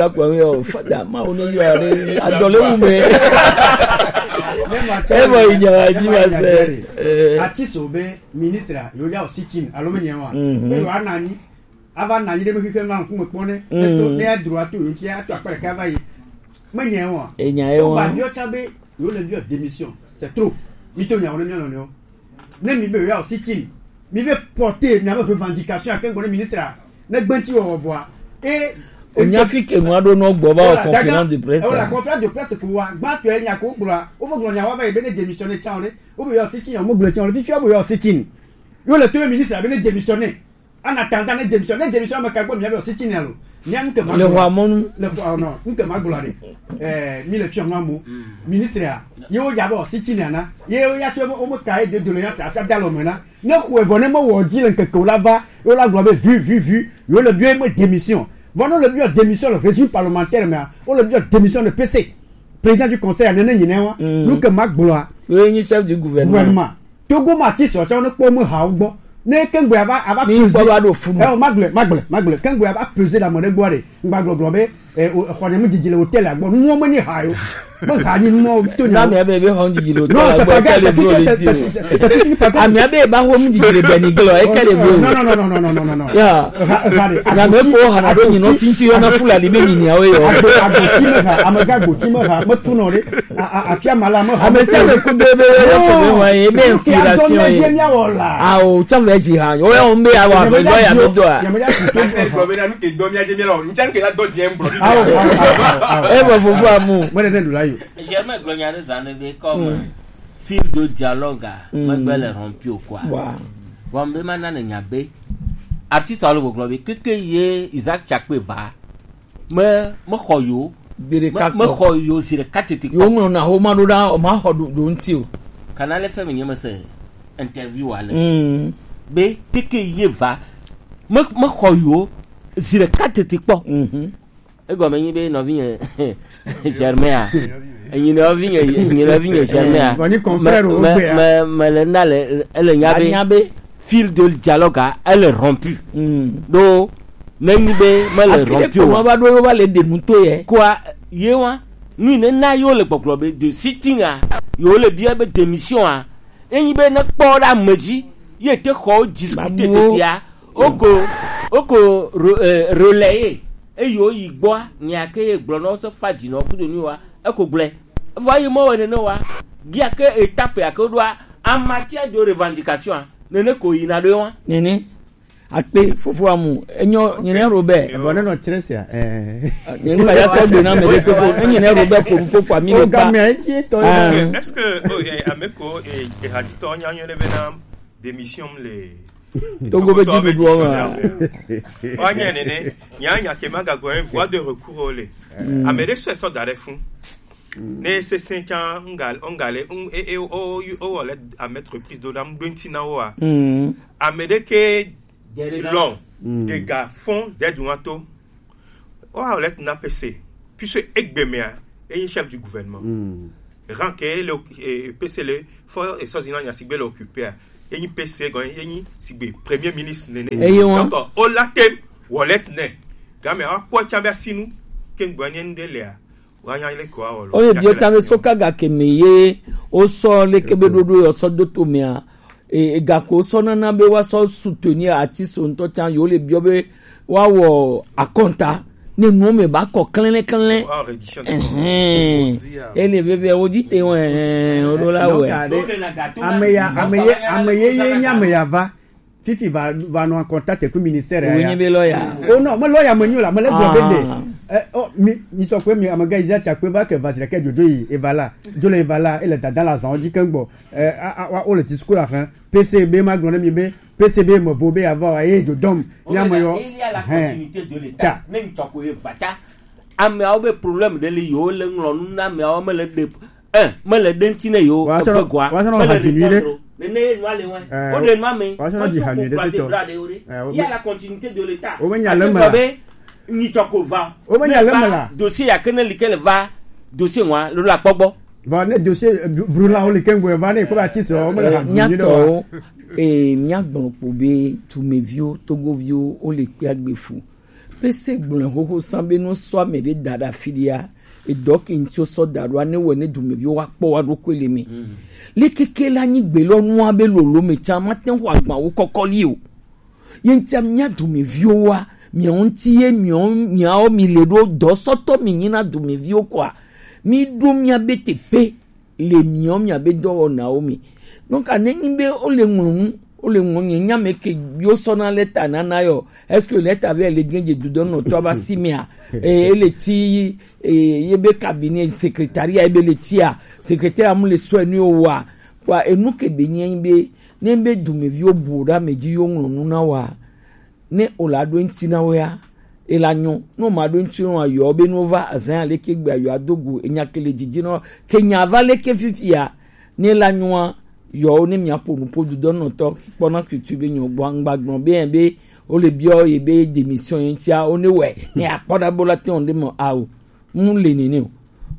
ɖeka kpɔ mi o, fada ma wo ne yɔ aɖe adɔle wu me. E bɔ yi nya wa ji ma se. Eh. Ati so be ministre yo ya o sitin alo me nya wa. Mhm. Be yo anani. Ava na yi ɖe me xexe na ŋkume kpɔ ne. Mm. Eto ne adro ato yo ti ato akpa ɖeka va yi. Me nya wa. E nya ye wa. Ba yo tsa be yo le bi o démission. C'est trop. Mi to nya wo ne mi lo ne o. Ne mi be yo ya o sitin. Mi ve porter mi ave revendication à Kengo ne ministre a. Ne gbenti wo vɔa. E o nya fi ke nu aɖo nɔ gbɔ va o conférence de presse. Voilà, conférence de presse ko wa. Gba to e nya ko gbla. O mo gbla nya wa va yi be ne démissionner tsa o ne. O be yo sitin o mo gbla tsa o ne. Fifi o be yo sitin. Yo le to ministre a be ne démissionner. En attendant ne démission, ne démission me ka gbɔ mi ave o sitin alo. Mi anu ke ma le gbla. Wa mɔnu. Le wa no, nke ma gbla de. Eh, mi le fiɔ no mo. Ministre a. Ye wo ya bo sitin na. Ye wo ya tso mo mo ka e de doléance a sa dalo mo na. Ne xwe vɔ ne mo wo di le nkeke wo la va. Yo la gbla be vu vu vu. Yo le bi me démission. Vɔ no le bi démission le régime parlementaire mais. O le bi démission de P C. Président du conseil a ne ne nyine wa. Mm. Nu ke ma gbla. Yo ni chef du gouvernement. Gouvernement. Togo ma ti sɔ tsɛ ne kpɔ me ha gbɔ. Ne kengbe ava ava mi gbɔ va ɖo fu me. Eh, magble magble magble kengbe ava peze la me ɖe gbɔ ɖe. Ngba gblɔgblɔ be eh, o xɔ ne mu dzidzi le hotel a gbɔ. Nuwo me ni ha yo. Me ha ni nuwo to nya. Na me be be hɔn dzidzi le hotel a gbɔ. Non, c'est pas grave, c'est tout, c'est c'est c'est c'est tout. Ami abe ba ho mu dzidzi le beni glo e kele bi. Non non non non non non non non. Ya. Ha ha de. Na me ko ha na do nyi no sinti yo na fulani me ni ni awe yo. Agbo agbo ti me ha, amega agbo ti me ha, me tu no de. A- a- afia ma la me ha. Ame sia ame ku be be ye ko be wa ye be inspiration ye. Awo tsam ve dzi ha. O ya o be awa be do ya be do a. Ase gblɔ be na nu ke dɔ mía dze mía lɔ ŋtsɛ nu ke la dɔ dze ŋgblɔ. Awo awo awo. E be fofo amu. Mo de ne ɖu la yo. Germain gblɔ nya ɖe zã ne be comme fil de dialogue a megbe le rompu o quoi. Wa. Vɔ be ma na ne nya be artiste alo gbɔgblɔ be keke ye Isaac Chakpe va. Me mexɔ yo. Gbeɖeka me- tɔ. Mexɔ yo zi ɖeka tete kpɔ. Yo ŋlɔ na xoma ɖo ɖa o ma xɔ ɖo ɖo ŋuti o. Kanale fɛ mi nye mese interview wa le. Mm. Be teke ye va me mexɔ yo zi ɖeka tete kpɔ. Mhm. Egɔme nyi be nɔvinye Germain a. Enyi nɔvinye enyi nɔvinye Germain a. Vɔ ni confrère wo gbea. Me- me- me le na le ele nya be Anya be. Fil de dialogue a, elle est rompue. Mm. Donc, nenyi be mele rompu o. Afi ɖe kpɔ ma va ɖo ye va le ɖe nu to ye. Quoi, ye wa, nu ne na yo le gbɔgblɔ be de sitting a, yo le bia be démission a. Enyi be ne kpɔ ɖe ame dzi, ye te xɔ discuter tete a. Oko, oko re- eh, relayer. Eyi wo yi gbɔa, nya ke ye gblɔ na wo se fa dzi na wo kudo nu wa, eko gblɔe. Vɔ yi mɔ wɔ nene wa, gia ke étape ya ke ɖoa, amatia do revendication a, nene ko yina ɖo wa. Nene. Akpe, fofo amu, enyo, nyine Robert. Bon, non, non, tiens, c'est, euh, Nyine ba ya se gbe na me de koko, enyi ne Robert ko ko kwa mi le pa. Est-ce que, est-ce que, oh, eh, ameko, eh, eh, hadito nya nyo le be na démission le Togo be Togo be didu o ma. Wa nya nene, nya nya ke ma ga go, eh, voie de recours le. Amede so so dare fun. Ne se se cha ngal, ongale, un, e, e, o, o, o, le à mettre prise de dame, de ntina wa. Amede ke long, de ga fond, de duato. O, a, le na P C. Puisque egbemea, e chef du gouvernement. Ran ke le, eh, P C le, fo e so zina nya sigbe le occupé. E ni P C gon, e ni sigbe premier ministre nene. Donc, o la tem, wallet ne. Ga me a po cha be sinu, ke ngbo ni nde le a. Wa nya le ko a o lo. O ye bi o ta be so ka ga ke me ye, o so le ke be dodo yo so do to me a. E, e ga ko so na na be wa so soutenir artiste on to chan yo le bi o be wa wo akonta. Ne nu me ba ko klen klen. Wa reddition de comptes. Ele be be o di te won, o do la we. Ameya, ameye, ameye ye nya meya va. Fifi va, va nɔ contact ku ministère ya. Wo nyi be lawyer. Oh non, mo lawyer mo nyi la, mo le gblɔ be de. Eh, oh, mi, mi sɔ kpe mi amega iza cha kpe va ke va zira ke jojo yi, e va la. Jo le e va la, e le dada la zan ji ke gbɔ. Eh, a, a, wa, o le discours la fin. P C B ma gblɔ ne mi be, P C B mo vo be ava wa, e jo dom. Ni ame yo. Il y a la continuité de l'État. Même tɔ ko e va cha. Ameawo be problème de li yo le ŋlɔ nu na ameawo me le de. Eh, mele ɖe ŋuti ne yewo eve goa. Mele ɖe tɔndro. Nene ye nua le ŋue. Woɖe nua me. Woɖe nua me. Woɖe. Il y a la continuité de l'État. Wobe nya le me la. Be nyitsɔ ko va. Wobe nya le me la. Dossier ya ke ne li ke le va. Dossier ŋua, lo la kpɔ gbɔ. Va ne dossier, eh, brûlant wo li ke ŋgbe va ne ko ba ti so, wo me le ha du nyuie ɖe wa. Nyatɔ, eh, mia gbɔn kpo be tumeviwo, togoviwo, wo le kpea gbe fu. Pese gblɔe xoxo san be no sɔ ame ɖe da ɖe afi ɖia, edɔ ke ŋtsi sɔ da ɖoa ne wɔ ne dumeviwo wa kpɔ wa ɖokui le me. Le keke la nyi gbe lɔ nua be lolo me tsa ma te xɔ agba wo kɔkɔ li o. Ye ŋtsia mia dumeviwo wa, mia ŋtsi ye mia, miawo mi le ɖo dɔ sɔtɔ mi nyi na dumeviwo kɔa, mi ɖo mia be te pe. Le miɔ mia be dɔwɔnawo me. Donc, a ne nyi be wo le ŋlɔ nu, wo le ŋlɔ nye nya me ke yo sɔ na leta na na yo. Est-ce que leta be le gen je du dɔn no to ba si me a? E, e le ti, e, ye be cabinet secrétariat e be le ti a. Secrétaire amu le sɔ nu o wa. Kwa enu ke be nyi be, ne be dumeviwo bu ɖa me ji yo ŋlɔ nu na wa. Ne o la ɖo ŋuti na wo ya, e la nyɔ. Ne o ma ɖo ŋuti na wo ya, yɔ be no va azan ya leke gbe yɔ ado go enya ke le dzidzi na wo. Ke nya va leke fifi ya, ne la nyɔa, yɔ wo ne mia ƒo nu ƒo du dɔ nɔtɔ kpɔ na tutu be nyɔ gbɔ ŋgba gblɔ be yɛn be o le biɔ ye be démission ye ŋutia, o ne wɛ, ne akpɔ ɖa bo la te wɔn ɖe mɔ ao. Mu le nene o.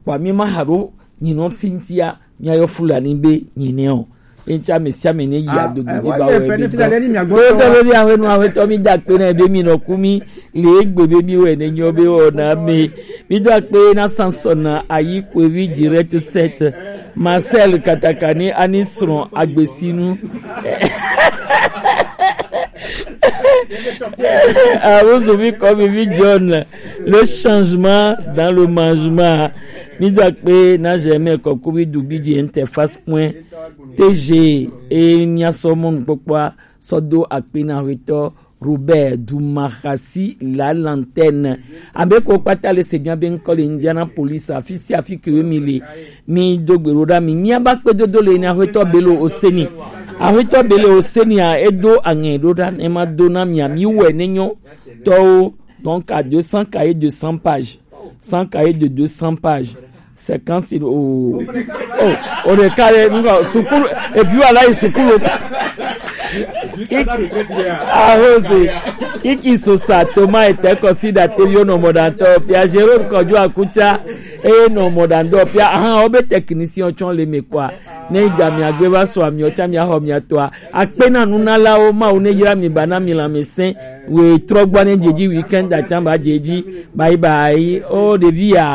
Kpa mi ma ha ɖo nyinɔ si ŋutia, mia yɔ Fulani be nyinɛ o. Eŋuti ame sia ame ne yi adodo dzi ba wɛ mi gbɔ. To be mi awe nu awe tɔ mi da kpe na be mi nɔ ku mi le egbe be mi wɛ ne nyɔ be wɔ na me. Mi da kpe na Samson na ayi kwevi direct set. Marcel Katakani ani srɔ̃ agbesinu. Awozo mi kɔ mi vi John. Le changement dans le mangement. Mi do akpe na Germain Kokobi Dubi di interface point T G e mia sɔ mɔnukpɔkpɔa sɔ do akpe na hwetɔ Robert Dumahasi la lanterne. Abe ko kpata le se bia be ŋkɔ le Indianapolis afi si afi ke mi le. Mi do gbe ɖo ɖa mi. Mia ba kpe dodo le na hwetɔ Belo Oseni. Ahwetɔ Belo Oseni a edo aŋɛ ɖo ɖa ne ma do na mia mi wɛ ne nyɔ. Tɔwo, donc à deux cents cahiers, deux cents pages. Cent cahiers de deux cents pages. C'est quand c'est au, oh, au décalé, nous, sukulu, et puis voilà, il sukulu. Arose, Kiki Sosa, Thomas et Teko Sida, Tevio no Modanto, Pierre Jérôme Kodjo Akucha, et no Modando, Pierre, ah, obe technicien, on le me quoi. Ne dami agbe va so ami, ocha mi aho mi atoa. Akpe na nunalawo, Mawu ne yra mi ba na mi lãmesẽ. We trɔ gbɔ ne dze dzi weekend atã ba dze dzi. Bye bye. Oh, ɖevi ya.